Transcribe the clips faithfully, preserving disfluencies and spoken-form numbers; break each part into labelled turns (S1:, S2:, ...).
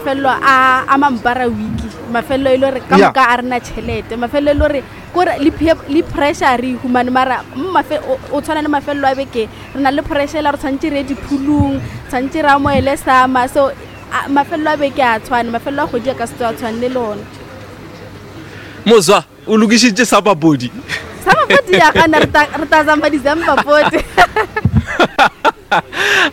S1: Mafelelo a a mampara week, mafelelo e le gore ka
S2: Yeah.
S1: moka a rena tšhelete, mafelelo e le gore kore le peer- le pressure re e humane. Mara mo mafe- o o tshwana le mafelelo a beke, re na le pressure la re tshwanetse re ye diphulung, tshwanetse re amoele sama. So a- mafelelo a beke a tshwane, mafelelo a kgwedi a ka se tso a tshwane le lona.
S2: Mozwa o lokišitše sa papodi.
S1: Sa mapodi ya gana, re ta- re ta zamba December pote.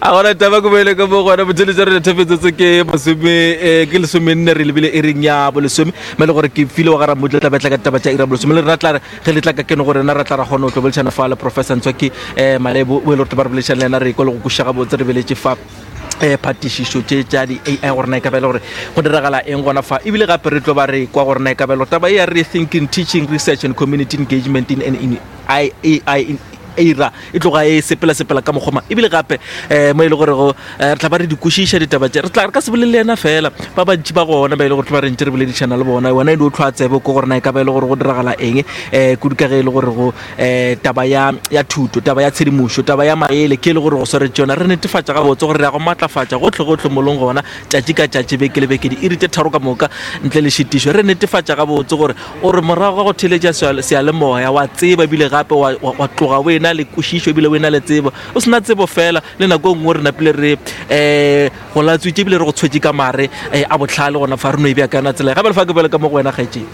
S2: A gona taba ko boele ka mo gona botheletša re thefetsetse ke masome eh, ke lesomenne, re lebile e reng ya bolesome me le gore ke file wa gara motla tla betla ka ditaba tša ira bolesome le rena tla re ge le tla ka kene gore rena ra tla ra kgona go tlo boledišana fa le Professor Ntswaki um Malebo o e le gore ba re boledišana le yena, re kwa le go kwešiša gabotse. Re beletše fa um phatišišo tše tša di-A I gore na e ka ba e le gore go diragala eng gona fa, ebile gape re tlo ba re kwa gore na e ka ba e le gore taba e ya rethinking teaching, research and community engagement in an in I, A I in era e tloga e sepela-sepela ka mokgoma. Ebile gape um mo e le gore go eh, re tla ba re di kwešiša ditaba tše, re tla re ka se bolele le yena fela, ba bantši ba gona ba e le gore tla ba re ntse re boledišana le bona. Wena e di o tlhwa tsebe ko gore na e ka ba e le gore go diragala eng um kudu ka ge e le gore go um taba ya ya thuto, taba ya tshedimošo, taba ya maele ke e le gore go swaretše yona. Re netefatša gabotse gore re ya go maatlafatša gotlhe-gotlhe molong gona tšatši ka tšatši, beke le beke, diiri tše tharo ka moka ntle le šitišo. Re netefatša gabotse gore o re morago ga go theletša seale- seyalemoya wa tseba, ebile gape wa wa- wa tloga o ena le kwešišo, ebile o ena le tsebo, o sena tsebo fela le nako e nngwe re napile re um go latswitše, ebile re go tshwetše ka mare um a botlhale gona fa re no e bea ka yona tsela. Gape le fa ke boele ka mo go wena kgaetšeng.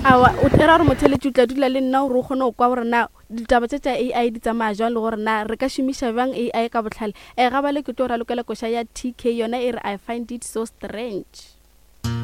S1: Awa, o era gore motheletši o tla dula le nna gore o kgone go kwa gore na ditaba tše tša A I di tsamaya jwang, le gore na re ka šomiša bjang A I ka botlhale. um ga bale ke tlo ralokela koša ya T K, yona e re "I Find It So Strange".